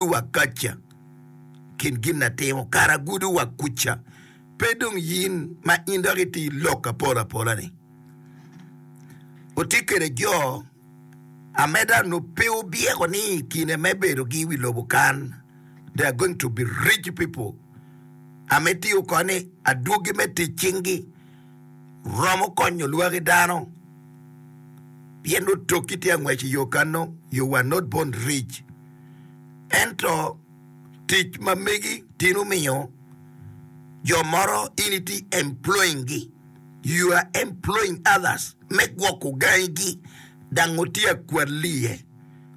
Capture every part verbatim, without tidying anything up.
Wa kaca kin gin na timo kara gudo wa kuca pe dong yin ma in dok iti lok apola apola ni otye kede jo ameda no pe obyeko ni i kine me bedo gi wi lobo kan they are going to be rich people ame tiyo ko ni adwogi me tic cingi romo konyo lwaki dano pien otoki tye angwec i yo kano you were not born rich. Ento tic ma megi tin omiyo jo moro in itye employing gi, you are employing others me gwoko gangi gi dang otye akwalli iye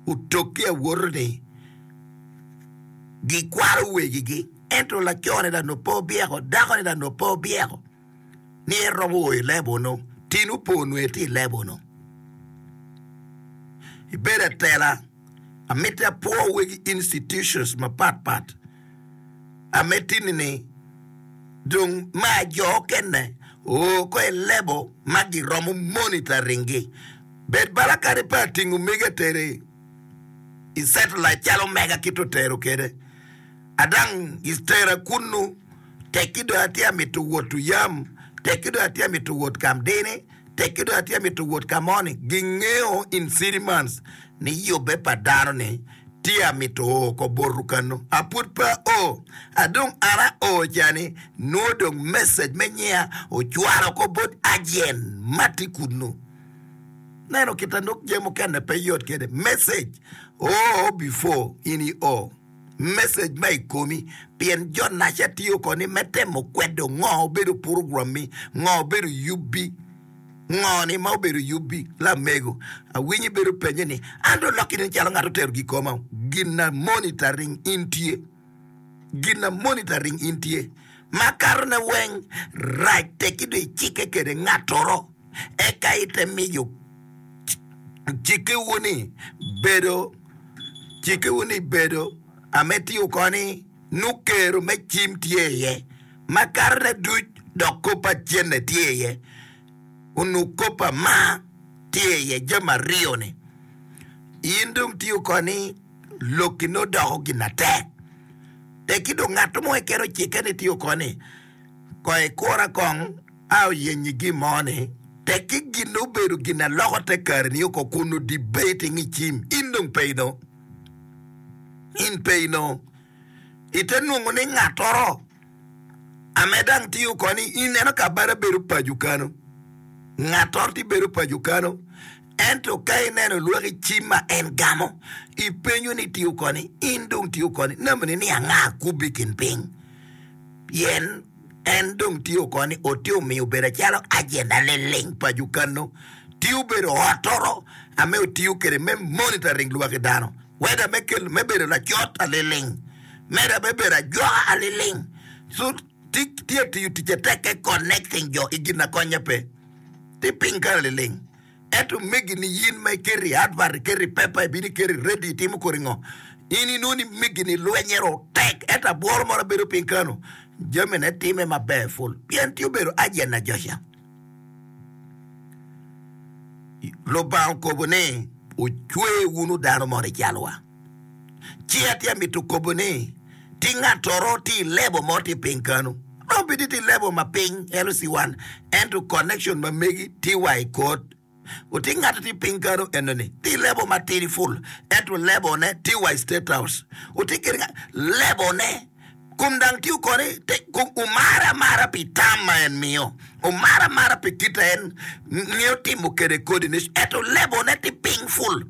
otoki awoto ni gikwalo wegi gi ento laco ni dang pe obyeko dako ni dang pe obyeko ni en romo o i level nu tin opo nwe tye i level nu ibedo atela. Amiti apwo wegi institutions mapat pat ame tini ni dong ma jo okene oo ko i level ma giromo monitoring gi. Bed bala kadi pe atingo mege atere i satellite calo mega kit otero kede. Adang itera kunnu tekki dong atye amito wot oyam, tekki dong atye amito wot kamdini. Tekki dong atye amito wot ka mo ni gingeo in city months ni yubbe pa dano ni tye amito o ko botu kanu. A pud pe ao. Adong an ao cani nwo dong message me nyiya ocwalo ko bot agent ma tye kunu. Neno kita nok jami mukene pe yot kede. Message oo before in i o. Message ma i komi pien jo naca tiyo koni me temo kwedo ngo obedo purogrammi, ngo obedo yubbi, ngo ni ma obedo yubbi. Lamego, awinyo ibedo penye ni, an dong lokki nen calo ngat otero gikoma. Gin na monitoring in tye. Gin na monitoring in tye. Makato ne weng rac tekki dong icikke kede ngatoro eka ite miyo cikkewu ni bedo Cikkewu ni bedo ame tiyo koni nukero me cim tye iye, ma katone duc dok kop pa cente tye iye, onongo kop pa mar tye iye, jami aryo-ni. In dong tiyo koni lokki nongo doko gin atek. Tekki dong ngat mo keken ocikke ni tiyo koni, Kong ikura kong a oyenyi gin mo ni tekki gin obedo gin aloko te kare ni oko kun debating i cim in dong pe ino in pe ino ite nongo ni ngatoro ame dang tiyo koni ineno ka bada bedo paco kano ngatoro ti bedo paco kano ento ka ineno lwaki cim ma en gamo ipenyo ni tiyo koni in dong tiyo koni namani ni anga kubi kin piny Pien en dong tye oko ni ote omiyo obedo acalo agenda liling pa jukano, tye obedo ottoro ame otiyo kwede me monitoring lwaki dano, whether me kelo me bedo lacot aliling, meda me bedo ajwaka aliling. So tye atiyo ticce tekke connecting jo i gin na konye pe. Tye piny kany liling. Ento megini in ma iketo i advert, iketo i pepa, ibino iketo i radio, itimo kodi ngo, in inongo ni megini lwenye ro tek, ento abworo moro bedo piny kano, jamine time maber ful, pien tye obedo agent ajoca. Lubanga okobo ni ocwe wunu dano moni calwa. Ci atye amito kobo ni ti ngatoro tye i level mo tye piny kanu. Romo bed ni tye i level ma piny L C one ento connection ma megi tye wa i court. Oti ngato tye piny kanu eno ni tye i level ma tidi full ento level ne tye wa i state house. Oti kede nga level ne kom dang tye koni te kom omare amara pi tam ma en miyo. Omare amara pi kit a en ngeyo timo kede coordination ento level ne tye piny full.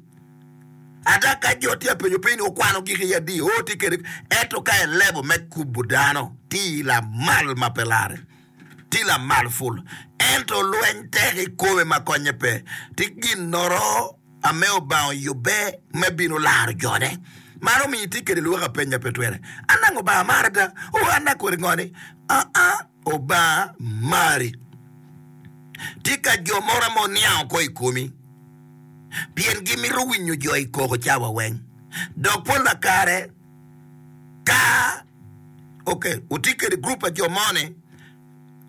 Ada ka jo tye apenyo piny ni okwano gik i adi, oo tye kede, ento ka elebo me kubo dano tye i lamal ma pe lare, tye i lamal ful. Ento lweny tek i kome ma konye pe. Tye ginnoro ame Obanga oyubbe me bino laro jone. Man omiyo itye kede lwak apenya pe twere. Anango Obanga mara ada? Oo an akweri ngo ni? Aa, Obanga mari. Tye ka jo moro ame oniango ko i komi. Pien gimito winyo jo i koko cawa weng. Dok pol pa kare ka ok wutye kede gurup pa jo mo ni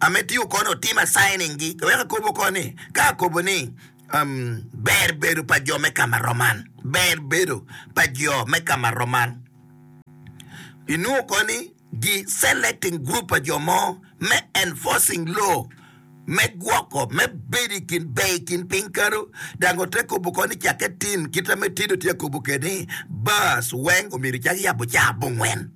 ame tiyo kono otimo assigning gi wek akobo ko ni ka akobo ni um, ber bedo pa jo me kama roman ber bedo pa jo me kama roman. Inongo koni gi selecting group pa jo mo me enforcing law me gwoko me bedo i kin ber i kin piny kano dang ote kobo koni cakke tin kita me tido tye kobo kede bars weng omyero cak yabo ca abongwen.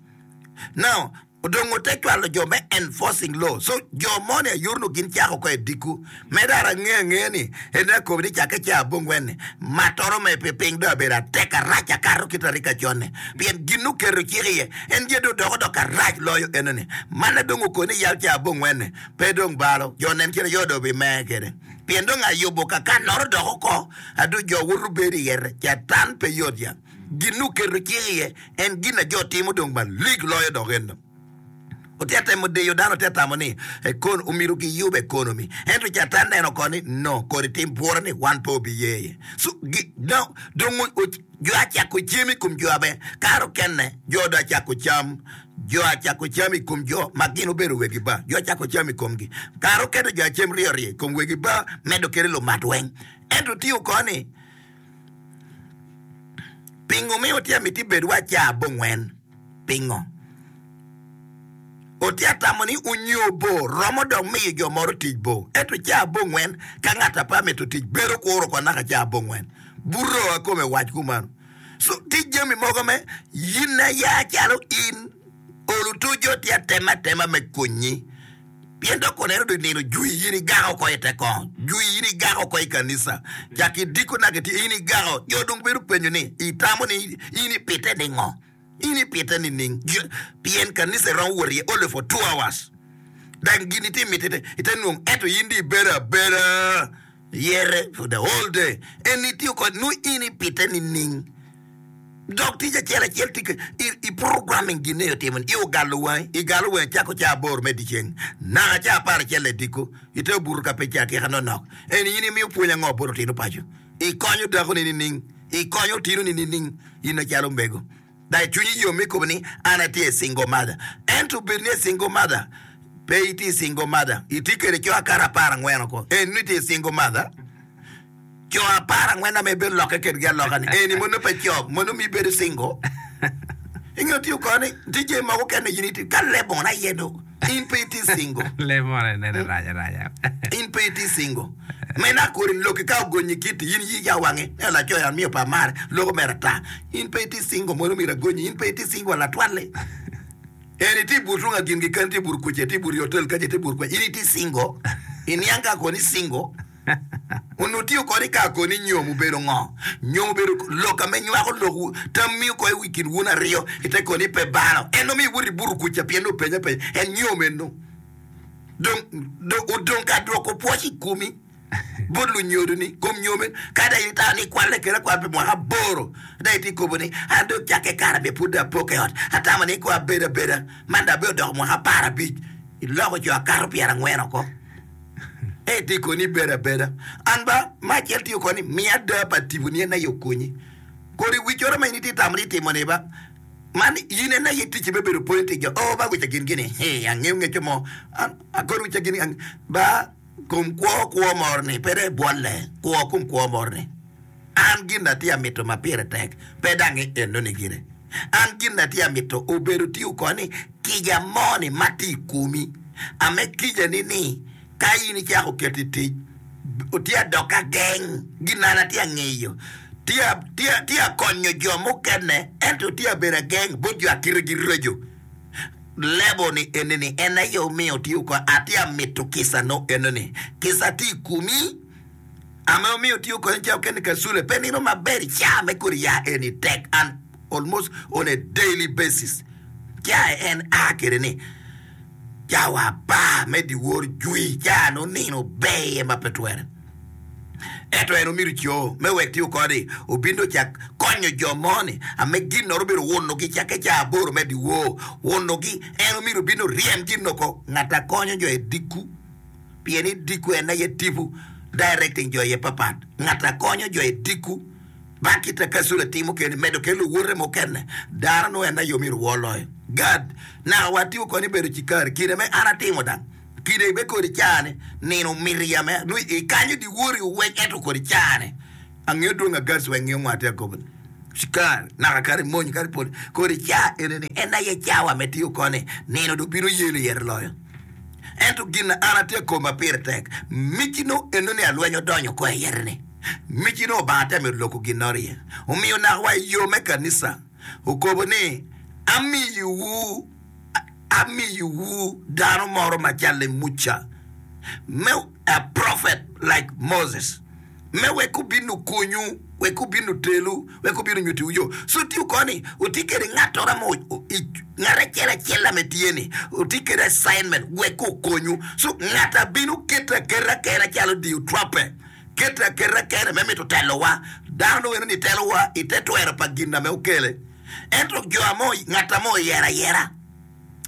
Now odong ote cwalo jo me enforcing law so jo mo ni ayurno gin cako ko i diko me dara ange ange ni en akobo ni cakke ca abongwen ni matoro me pi piny do abedo atek arac akato kita rik acone pien gin oketo cik iye en je do doko dok arac loyo enoni man adong okoni yal ca abongwen ni pe dong balo jo nen kine yo do bi me kede pien dong ayubo kaka noro doko ko adu jo woto bedo iye catan pe yot ya gin oketo cik iye en gin a jo timo dong malik loyo dok eno ote temo diyo dano ote tamo ni ekon omiro giyub economy ento catan neno koni no kodi tim bwura ni wan pe obi ye so gi, no, dong o- o- jo acako cem i kom jo abe karo kene jo do acako cam jo acako cam i kom jo ma gin obedo wegi ba jo acako cam i komgi karo kene jo acem ryo ryo i kom wegi ba medo kede lumat weng ento tiyo koni pingo miyo tye miti bed wa ca abongwen pingo otye tamo ni onyo bo romo dok miyo jo moro tic bo ento ca abongwen ka ng'at apa mito tic bedo kuro ko naka ca abongwen buro akome wac kumano so tic jami mogo me yin aya calo in olu tujo tye atema atema me konyi pien dok koneno do nino jwi yin igako ko i te kong jwi yin igako ko i kanisa cak idiko naka ti in igako jo dong bedo penyo ni itamo ni in ipite ni ngo in ipite ni ning pien kanisa iromo wot iye only for two hours dang gini ti mitite ite nwong eto in di ibedo abeda yere for the whole day en itiyo kod nu in ipite ni ning dok tic acel acel tye i, i programming gin ne otimo ni i ogalo wangi igalo wangi cako ca aboro me dyeceng naka ca apar acel i diko ite obuto ka pe ca akika nonok en in imiyo pwony ango bot otino paco ikonyo dakoni nining ikonyo otinoni nining in acalo mego dai cwinyi yom mi kobo ni an atye single mother ento bed ni single mother pe itye single mother itye kede co akara apar angwen oko en ni itye single mother co apar angwen ame ibedo lokke kedgi aloka ni eni mono pe co mono mi ibedo single ingeo tiyo koni tye jami mogo kene in itye ka lebon aye do in pe itye single Lemon nene rac araca. in pe itye single mena kodi loki ka ogonyi kiti in yi ya wangi e laco ya miyo pa mare loko mere ata in pe itye single mono myero agonyi in pe itye single latwalle en itye but runga gin gi kan itye but kuce itye but i hotel kaca itye but kwa in itye single iniang ka koni single onongo tiyo kodi ka koni nyom obedo ngo nyom obedo lok ame nywako lok tammi oko i kin wun aryo ite koni pe balo en omiyo iwot ibuto kuca pien openyo apenya en nyom eno dong dong odong ka dwoko pwoc i komi bot lunyodoni kom nyome ka dong itamo ni ikwalle kede akwala pi mwaka aboro dong itye kobo ni an dong cakke kare me pud dong apok i ot atamo ni ko abedo abeda man dong abedo doko mwaka apar abic iloko co akato pyerangwen oko e tye koni ibedo abeda an ba ma acel tye koni miya ada pa tiponi en aye okonyi kodi wicoro ma in itye tamo ni itimo ni ba man in en aye ticci me bedo pwony jo o ba wica gin gini he angeyo ngecco mo An- akoni wica gini ang- ba kom kwo kwo moro ni pe dong ibwolle kwo kom kwo moro ni an gin na tye amito ma pire tek pe dang eno ni gire an gin na tye amito obedo tiyo koni kica mo ni ma tye i komi ame kica ni ni ka in icako keto i tic tye adok ageng gin na an atye angeyo tye tye tye akonyo jo mukene ento tye abedo ageng bot jo akitegi reco lebo ni eni ni en aye omiyo tiyo ko atye amito kica no eno ni kica tye i komi ame omiyo tiyo koni ca okene kasule pe nino maber ca me kodi ya eni tek and almost on a daily basis ca en a kede ni cawa apar me dyewor jwi ca no nino ber iye ma pe twere ento en omiro co me wek tiyo kodi obino cak konyo jo mo-ni ame gin noro obedo wunogi cakke ca aboro me dyewor wunogi en omiro obino ryem gin oko ngat a konyo jo i diko pien i diko en aye tipo directing jo iye papat ngat a konyo jo i diko ba kita kasule timo keni medo kelo luwote mukene dano no en aye omiro wor loyo gad naka watiyo koni bedo cikari kine me an atimo dang kine be kodi cani nino miti ya me nu ikanyo diwori owec ento kodi cani angeyo dwong agads weng ngiyo ngwate akobo Cikar naka kadi mony kadi pol kodi ca ene ni en aye cawa me tiyo koni nino dong bino yelo iye loyo. Ento gin na an atye koma pire tek mici no eno ni alweny odonyo ko iye ni mici no Obanga te mito loko gin noro iye. Omiyo naka wa i yo me kanisa okobo ni amiyowu amiyowu dano moro macalo Muca me a prophet like Moses me wek obin okonyu wek obin otelu wek obin onyutiwu yo. So tiyo koni oti kede ng'attoro mo ng'at acel acel ame tye ni oti kede assignment wek okonyu. So ng'at abino kete aketa kene calo diyo trape kete aketa kene me mito telowa dano dong eno ni telowa ite twero pa gin ame okele. Ento jo amo ng'at ame oyero ayera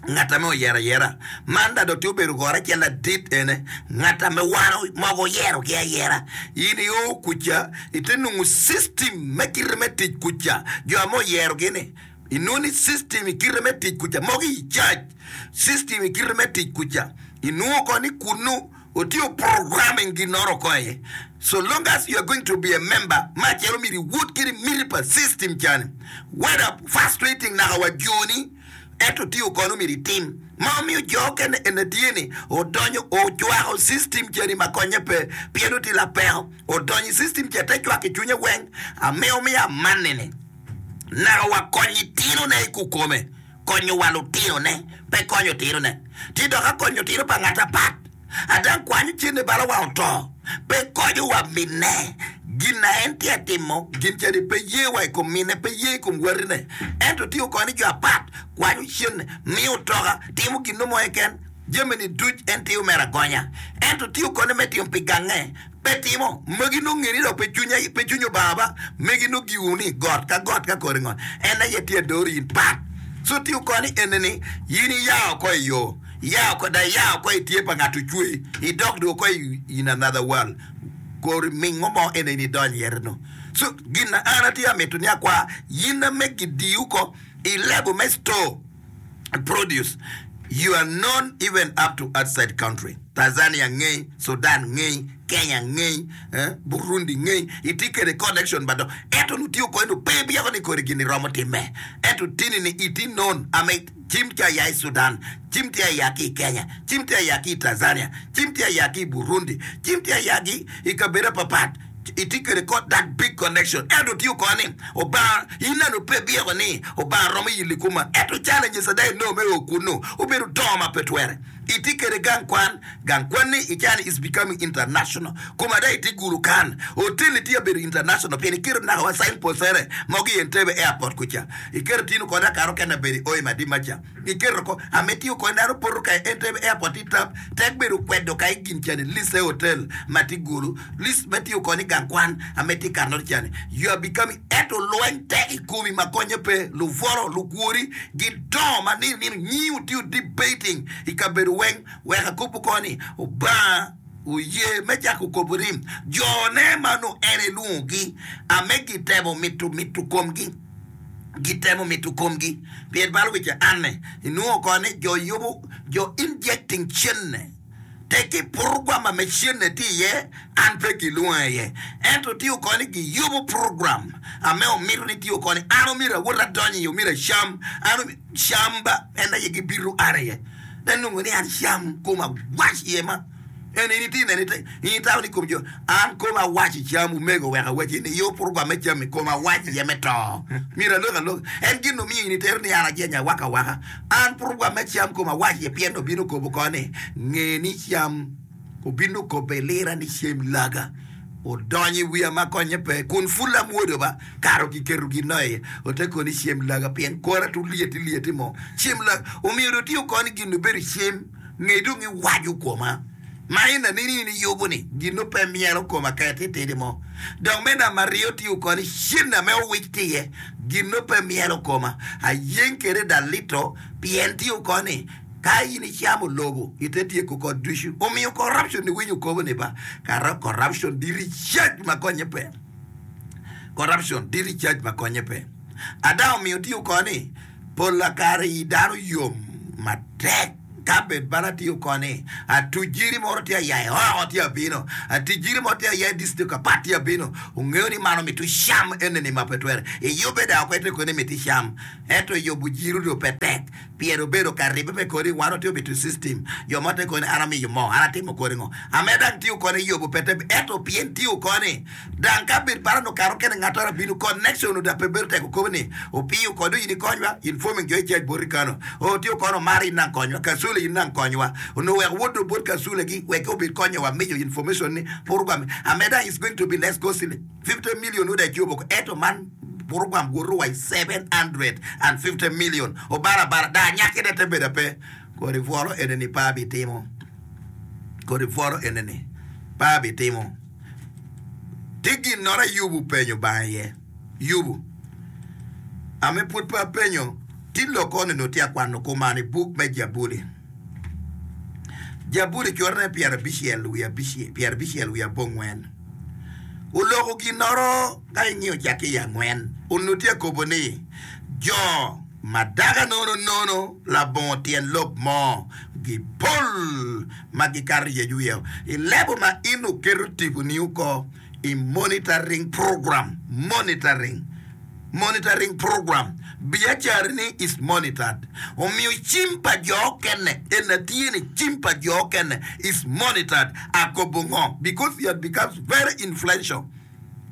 ng'at ame oyero ayera man da dong tye obedo goro acel ladit ene ng'at ame wan mogo oyerogi ayera in io kuca ite nongo system me kite me tic kuca jo ame oyerogi ni inongo ni system i kite me tic kuca mogo i church system i kite me tic kuca inongo ko ni kunu otiyo programming ginoro ko iye. So long as you are going to be a member ma calo myero iwot kede miti pa system cani whether frustrating naka wa joni ento tiyo kono myero itim ma omiyo jo okene ene tye ni odonyo ocwako system cani ma konye pe pien oti lapeko odonyo i system ca te cwako i cwinye weng ame omiyo amanni ni naka wa konyo itinone i kukome konyo wa lutinone pe konyo tinone ti dok akonyo tino pa ng'at apat adan kwanyo cene bala wa oto pe konyo wa mine gin na en tye atimo gin cani pe ye wa i kom mine pe ye i kom watine ento tiyo koni jo apat kwanyo cene miyo otoka timo gin no mo keken jami ni duc en tiyo mere agonya ento tiyo koni me timo pi gange pe timo magi nongo ngeni dok pe cwinya pe cwiny Obanga ba magi nongo giwu ni got ka got ka kore ngo en aye tye adoro in pat so tiyo koni ene ni in iya oko i yo iya oko da iya oko i tye pa ng'at ocweyi idok dong oko in another world kori mingo mo ene in idonyo iye no so gin na an atye amito ni akwa yin ame gidiu ko i level me store produce you are known even up to outside country Tanzania ng'ei Sudan ng'ei Kenya ng'ei eh, Burundi ng'ei itye kede connection ba dok ento nutiyo kode no pe byeko ni kodi gini romo time ento tini ni itye known ame cim tye aya i Sudan cim tye aya ki i Kenya cim tye aya ki i Tanzania cim tye aya ki i Burundi cim tye aya ki i kabedo apapat itye kede ko that big connection ento tiyo koni Obanga in nano pe byeko ni Obanga romo yili kuma ento challenges ada ino me o kunu obedo dongo ma pe twere itye kede gang kwan gang kwan ni icani is becoming international kuma ada itye gulu kan hotel tye abedo international pien iketo naka wa signpost ere mogo i Entebbe airport kuca iketo tino kode akaro kene bedo i Oi Madima ca iketo ko ame tiyo kode dano poto ka i Entebbe airport i tap tek bedo kwedo ka i gin cani list e hotel ma tye gulu list me tiyo koni gang kwan ame tye kanor cani you are becoming ento lweny tek i komi ma konye pe luvoro lukwori gidongo ma nino nino nyiu tiyo debating i kabedo weng wek akobo koni Obanga oye me cako kobo ni jone ma nongo en elwongogi ame gitemo mito mito komgi gitemo mito komgi pien balo weche anne inwongo koni jo yubo jo injecting cene teki program ame cene tye iye an pe gilwonga iye ento tiyo koni giyubo program ame omito ni tiyo koni an omyero awot adonyo iye omyero acam an camba en aye gibito an iye te nongo ni an cam koma wac iye ma en in itye nene in itamo ni kom jo an koma wac i cam omego wek awaci ni iyo program me cam i koma wac iye me to myero alok alok en gin omiyo in itero ni an ajenya awaka awaka an program me cam koma wac iye pien obino kobo koni nge ni cam obino kobo ilira ni cem laga odonyo i wiya ma konye pe kun pul amwodo ba karo kiketo gin no iye ote koni cem laga pien kora tu lyeti lyeti mo cem laga omyero otiyo koni gin obedo cem nge dong iwaco koma ma in anini in iyubo ni gin no pe myero koma ka ititidi mo dok me namba aryo tiyo koni cen ame owic tye iye gin no pe myero koma ayeng kede da lito pien tiyo koni ka in icamo lobo ite tyeko kod ducu omiyo corruption ni winyo kobo ni ba kara corruption di recharge ma konye pe corruption di recharge ma konye pe ada omiyo tiyo koni pol akare i dano yom matek Ka bed bala tiyo koni, atuc jiri moro tye aya i oko tye abino, atic jiri mo tye aya i district apat tye abino, ongeyo ni man omito cam eneni ma pe twere. Iyubbe dok oko ite koni miti cam, ento yubo jiri dong pe tek pien obedo ka ribbe me kodi wan watye omito system, jo mo te koni an amiyo moo, an atimo kodi ngo, ame dang tiyo koni yubo pe tek ento pien tiyo koni Dang ka bed paro nongo kare okene ngat oro abino connection oda pe bedo tek okobo ni opiyo kod in ikonywa informing jo i church boti kano o tye okono omaro in nang konywa kasule in nang konywa onongo wek wod do bot kasule gi wek obed konyo wa miyo information ni program ameda is going to be less costly fifty million oda icobo oko eto man program woto wa i seven hundred and fifty million obara abara da anyaki ne te bedo ape kodi bworo ene ni pe abitimo kodi bworo ene ni pe abitimo. Tye ginnoro a Yubu openyo Obanga iye. Yubu, Ame pwod pe apenyo, tye lok koni onongo tye akwano kuman i buk me Jabuli. Jabuli corone pyerabicel wiye pyerabicel wiye abongwen. Oloko ginnoro ka ingiyo cakke i angwen, onongo tye akobo ni, Jo ma daga nono nono labongo tyen lok mo gipol ma gikato yec wiye i lebo ma in oketo tiponi oko i monitoring program, monitoring, monitoring program, biacarani is monitored. Omiyo cim pa jo okene, en atye ni cim pa jo okene is monitored. Akobo ngo? Because you had becomes very influential.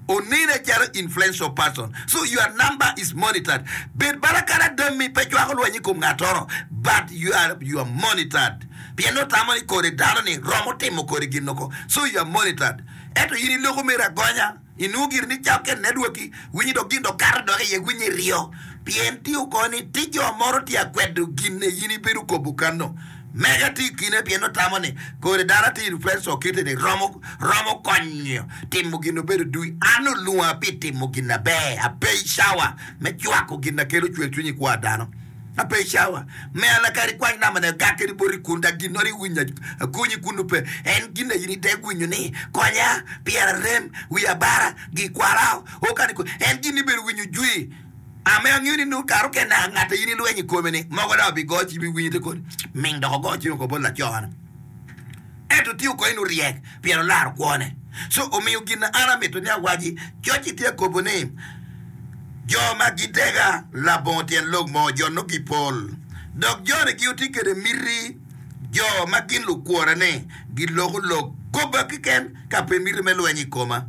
Onene calo influential person so your number is monitored bed bala kadi adammi pe cwako lweny i kom ngatoro but you are you are monitored pien nongo tamo ni kodi dano ni romo timo kodi gin oko so you are monitored ento in iloko mere agonya inongo giri ni cakke networki winyi dok gin dok kato dok iye winyi iryo pien tye oko ni tye jo moro tye akwedo gin in ibedo kobo kano. Mega tye i kine pien otamo ni kodi dano tye influencer kite ni romo romo konyo timo gin obedo dui. An olwonga pi timo gin aber. Ape i cawa me cwako gin na kelo cwer cwiny i kwo a dano. Ape i cawa me an akadi kwany namba ne agak kedi boti kun dak gin nongo iwinyo akonyi kunu pe. En gin na in idek winyo ni konya pyera rem wiya bara gikwara o kani en gin ibedo winyo jwi. Ame angeyo ni nongo kare okene ngat a in ilwenyo i kome-ni mogo dok obigo cim iwinyo te kodi ming dok ogo cim oko bot laco-ni. Ento tye oko en oryek pien olaro kwone. Co omiyo gin na an amito ni awaci, coc-ci tye akobo ni, Jo ma gidega labongo tyen lok mo, jo nongo gipol, dok joni gitye kwede miti, jo ma gin lukworra-ni giloko lok goba keken ka pe miti me lweny i koma.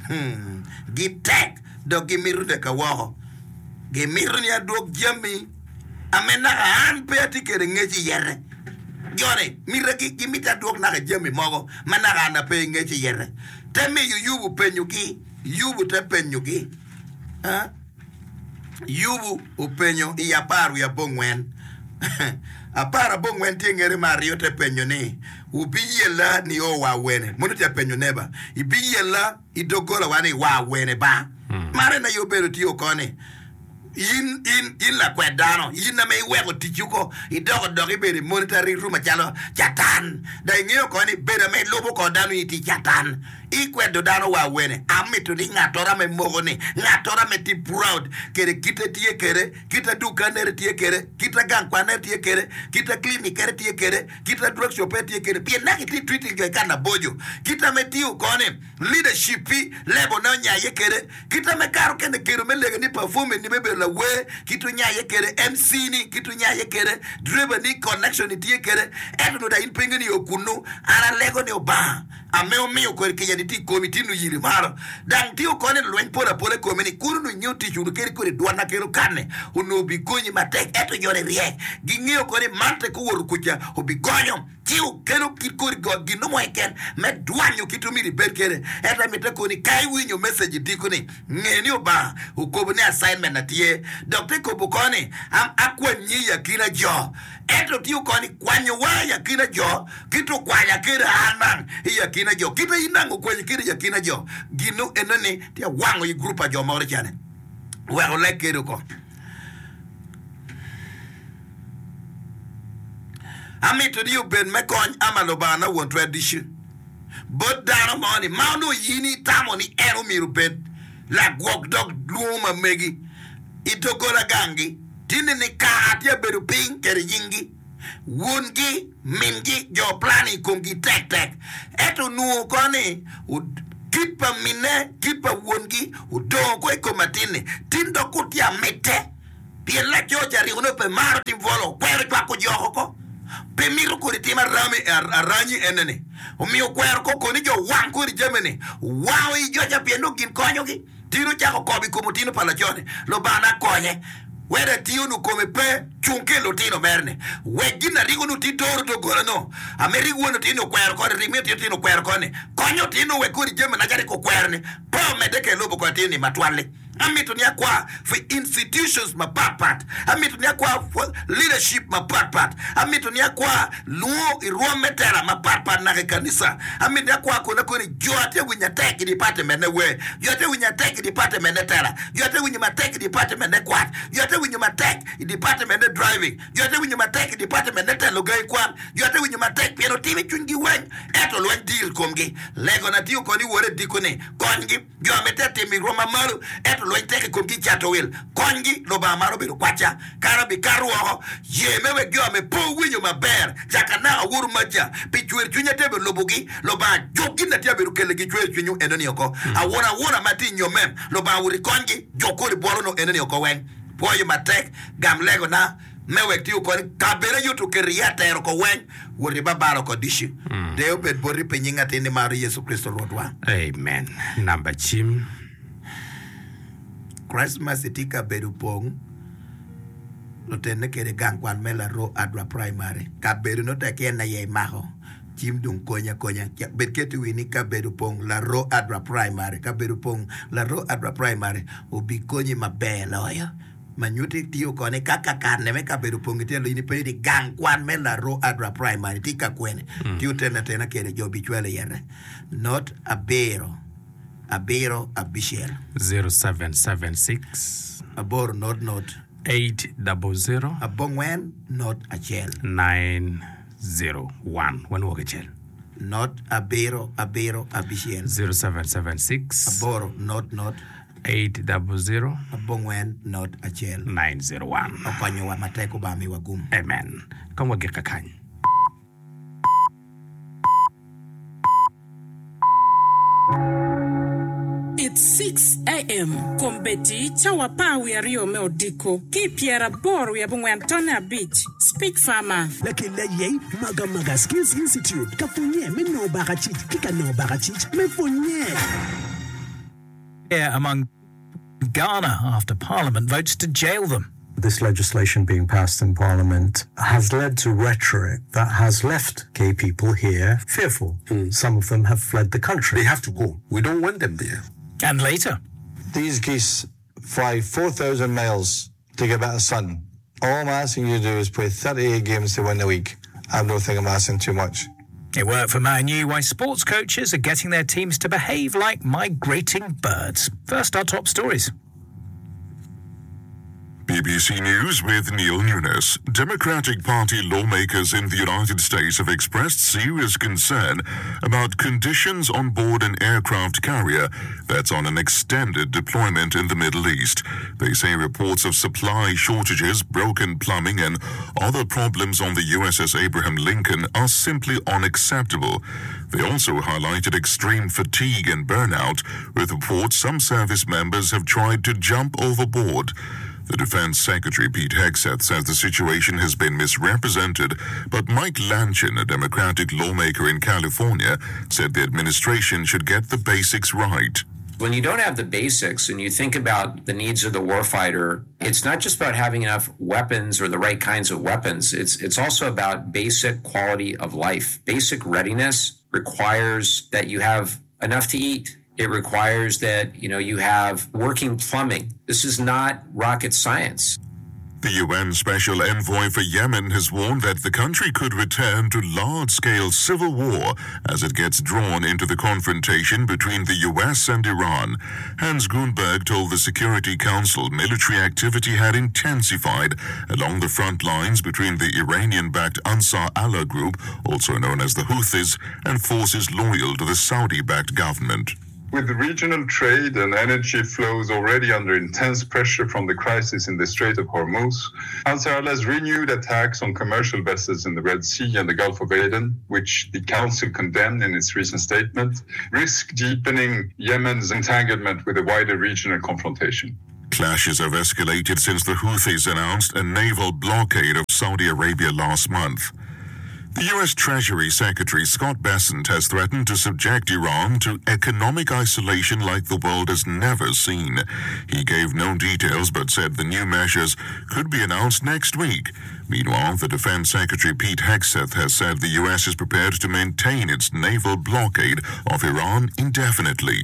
Hmm, gitek dok gimito neka woko. Gimito ni adwok jami ame naka an pe atye kwede ngec iyete. Jo-ni mitagi gimito adwok naka jami mogo ma naka an ape ngec iyete. Te miyo Yubu penyogi. Yubu te penyogi. Ah? Yubu openyo i apar wiye abongwen. Apar abongwen tye ngete me aryo te penyo ni, Wubiyella nio wa awene? Mono tye apenyo neba, Ibiyella i doggolawa ni wa awene ba? Man en aye obedo tye oko ni, in, in, in lakwed dano, in ame iweko ticci oko, idoko dok ibedo i monitoring room macalo Catan. Dong ingeyo oko ni bedo ame ilubo kor dano in itye Catan. Ikwedo dano wa awene? Amito ni ngattoro ame moko ni ngattoro ame tye proud kede kite tye kede, kite dukanere tye kede, kite gang kwanere tye kede, kite clinic-kere tye kede, kite drug shop-ere tye kede, pien naka itye treating jo i kare naboco. Kite ame tiyo koni, leadership-pi level ne onyaye kede, kite ame kare okene kedo me lege ni performing ni me bedo lawer, kite onyaye kede, M C ni kite onyaye kede, driver ni connection ni tye kede, ento nongo dong in pe ingeyo ni o kunu. An alego ni Obanga Ame omiyo kodi kica ni tye i komi, tye nuyiri malo, dang tye okone lweny pol apola i komi ni, Kun onongo ingeyo tic wunu kadi kodi dwan na kelo kanne, onongo obigonyi matek. Ento jo-ni ryek, gingeyo kodi man tek owoto kuca, obigonyo, ci okelo kit kodi got gin mo keken me dwanyo kit omyero ibed kwede. Ento amite koni, ka iwinyo message i diko-ni, nge ni Obanga okobo ni assignment na tye, dok te kobo koni, Am akwanyi i akina jo. Ento tye okoni, kwanyowa i akina jo. Kit okwanya kede an nang i akina jo, kit in nang okwanyi kede i akina jo, ginu eno ni tye awango i gurup pa jo moro cene. Wek oleg kede oko. Amito ni obed me kony ama Lubanga na won twer ducu bot dano mo ni ma onongo in itamo ni en omyero obed lagwok dog lwongo ma megi i doggola gangi, tinni ni kara tye abedo piny kede nyingi. Wongi, mingi, jo plan i komgi tek tek. Ento onwongo ko ni kit pa minne, kit pa wongi odongo ko i kom atin-ni. Tin dok kun tye amitte, pien laco ca ryeko nongo pe maro tim bwolo, okwero cwako joko ko. Pe mito kodi tim arami, aranyi ene-ni. Omiyo okwero ko koni jo wang kodi jami-ni. Wango i joca pien nongo gin konyogi. Tin ocako kobo i kom otino pa laco-ni, Lubana konye, wek atiyo-nu kome pe cung ki lutino mere-ni. Wek gin ariko-nu ti doro doggola-nu. Ame rik won otino okwero koni, rik min otino okwero koni. Konyo otino wek kodi jami naca rik okwero-ni pe omedde kede lubo kor atin-ni matwal-li. Amito ni akwa pi institutions mapat pat. Amito ni akwa leadership mapat pat. Amito ni akwa lwongo i rwom me tela mapat pat naka i kanisa. Amito ni akwa kona koni jo atye winyo atek i department ne wer, jo atye winyo atek i department ne tela, jo atye winyo matek i department ne kwat, jo atye winyo matek i department ne driving, jo atye winyo matek i department ne telo gangi kwan, jo atye winyo matek pien otimo i cwinygi weng ento lweny dir i komgi. Legona tye okoni wore diko ni konygi. Jo a mitte timo i rwom ma malo, ento lweny tek i komgi i cato wil. Konygi, Lubanga maro bedo kwacca. Kara abikato woko. Ye me wek jo ame pe owinyo maber caka naka woru maca pi cwer cwiny atye bedo lubogi. Lubanga juk gin atye abedo keligi cwer cwinywu enoni oko. Awuna awuna ma tye i nyomme, Lubanga wot ikonygi, juk kodi bwolo-nu enoni oko weng. Pwoyo matek, gam legona. Me wek tiyo kodi kabedo aye oketo iye atero ko weng, wot ibabalo oko ducu. Deyo obed boti pi nying atin nimaro Yecu Kricito Rwotwa. Amen. Namba cim. Christmas itye kabedo pong lutene kede gang kwan me Laroo Adwa Primary. Kabedo no tek en aye imako cim dong konyi akonya. Bed keto i wi ni kabedo pong Laroo Adwa Primary. Kabedo pong Laroo Adwa Primary obikonyi maber loyo. Ma nyutti tiyo kone ka kakane me kabedo opong i tyelo in ipenyo ni gang kwan me Laroo Adra Primary tye ka kwene? Ti otene atena kede jo bicwalo iyete. Not abiro abiro abicel. Zero seven seven six. Aboro not not. Eight double zero. Abongwen not acel. Nine zero one. Wanwok acel. Not abiro abiro abicel. Zero seven seven six. Aboro not not. Eight double zero. Abongwen not acel. Nine zero one. Okonyowa matek Obama miwa gum. Amen. Kong wagik kakany. It's six AM, Kombeddi, cawa apar wiye aryo me odiko, ki i pyeraboro wiye abongwen tonne abic, Speech Farmer. Lakel aye Magamaga Skills Institute ka pwonye me nongo bakacic ki ka nongo bakacic me pwonye. Among Ghana after Parliament votes to jail them. This legislation being passed in Parliament has led to rhetoric that has left gay people here fearful. Mm. Some of them have fled the country. They have to go. We don't want them there. And later. These geese fly four thousand miles to get a bit of sun. All I'm asking you to do is play thirty-eight games to win the league. I don't think I'm asking too much. It worked for Man U, why sports coaches are getting their teams to behave like migrating birds. First, our top stories. B B C News with Neil Nunes. Democratic Party lawmakers in the United States have expressed serious concern about conditions on board an aircraft carrier that's on an extended deployment in the Middle East. They say reports of supply shortages, broken plumbing, and other problems on the U S S Abraham Lincoln are simply unacceptable. They also highlighted extreme fatigue and burnout, with reports some service members have tried to jump overboard. The Defense Secretary, Pete Hegseth, says the situation has been misrepresented, but Mike Lanchin, a Democratic lawmaker in California, said the administration should get the basics right. When you don't have the basics and you think about the needs of the warfighter, it's not just about having enough weapons or the right kinds of weapons. It's, it's also about basic quality of life. Basic readiness requires that you have enough to eat. It requires that, you know, you have working plumbing. This is not rocket science. The U N Special Envoy for Yemen has warned that the country could return to large-scale civil war as it gets drawn into the confrontation between the U S and Iran. Hans Grundberg told the Security Council military activity had intensified along the front lines between the Iranian-backed Ansar Allah group, also known as the Houthis, and forces loyal to the Saudi-backed government. With regional trade and energy flows already under intense pressure from the crisis in the Strait of Hormuz, Ansar Allah's renewed attacks on commercial vessels in the Red Sea and the Gulf of Aden, which the Council condemned in its recent statement, risk deepening Yemen's entanglement with a wider regional confrontation. Clashes have escalated since the Houthis announced a naval blockade of Saudi Arabia last month. The U S. Treasury Secretary Scott Bessent has threatened to subject Iran to economic isolation like the world has never seen. He gave no details but said the new measures could be announced next week. Meanwhile, the Defense Secretary Pete Hegseth has said the U S is prepared to maintain its naval blockade of Iran indefinitely.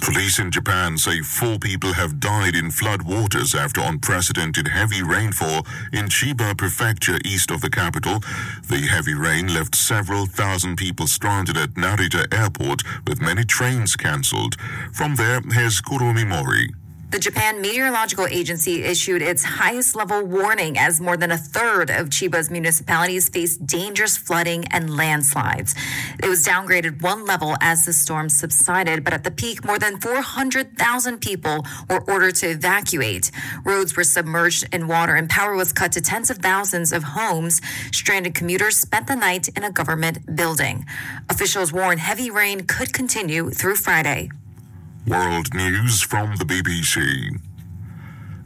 Police in Japan say four people have died in flood waters after unprecedented heavy rainfall in Chiba Prefecture east of the capital. The heavy rain left several thousand people stranded at Narita Airport, with many trains cancelled. From there, here's Kurumi Mori. The Japan Meteorological Agency issued its highest level warning as more than a third of Chiba's municipalities face dangerous flooding and landslides. It was downgraded one level as the storm subsided, but at the peak, more than four hundred thousand people were ordered to evacuate. Roads were submerged in water and power was cut to tens of thousands of homes. Stranded commuters spent the night in a government building. Officials warn heavy rain could continue through Friday. World News from the B B C.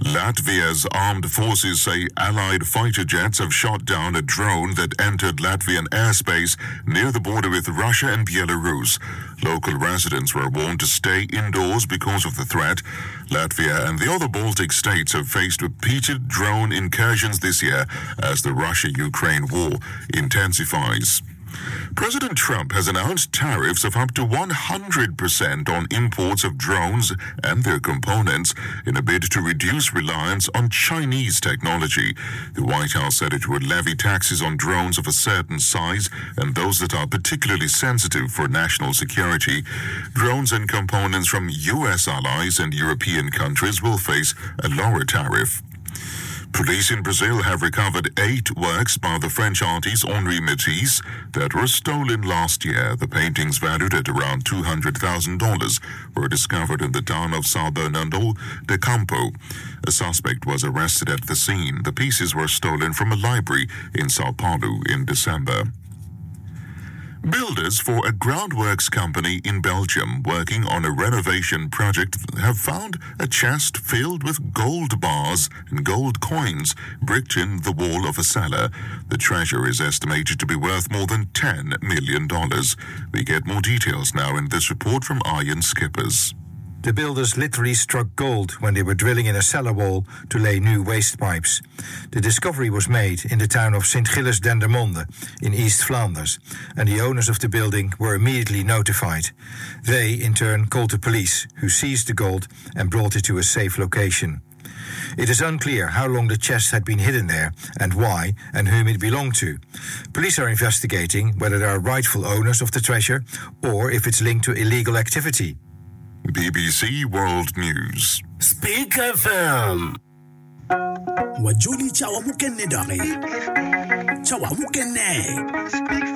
Latvia's armed forces say Allied fighter jets have shot down a drone that entered Latvian airspace near the border with Russia and Belarus. Local residents were warned to stay indoors because of the threat. Latvia and the other Baltic states have faced repeated drone incursions this year as the Russia Ukraine war intensifies. President Trump has announced tariffs of up to one hundred percent on imports of drones and their components in a bid to reduce reliance on Chinese technology. The White House said it would levy taxes on drones of a certain size and those that are particularly sensitive for national security. Drones and components from U S allies and European countries will face a lower tariff. Police in Brazil have recovered eight works by the French artist Henri Matisse that were stolen last year. The paintings, valued at around two hundred thousand dollars, were discovered in the town of São Bernardo do Campo. A suspect was arrested at the scene. The pieces were stolen from a library in Sao Paulo in December. Builders for a groundworks company in Belgium working on a renovation project have found a chest filled with gold bars and gold coins bricked in the wall of a cellar. The treasure is estimated to be worth more than ten million dollars. We get more details now in this report from Arjen Skippers. The builders literally struck gold when they were drilling in a cellar wall to lay new waste pipes. The discovery was made in the town of Sint Gillis Dendermonde in East Flanders, and the owners of the building were immediately notified. They, in turn, called the police, who seized the gold and brought it to a safe location. It is unclear how long the chest had been hidden there and why and whom it belonged to. Police are investigating whether there are rightful owners of the treasure or if it's linked to illegal activity. B B C World News. Speak F M. Wajoli cawa mukene doki. Cawa mukene.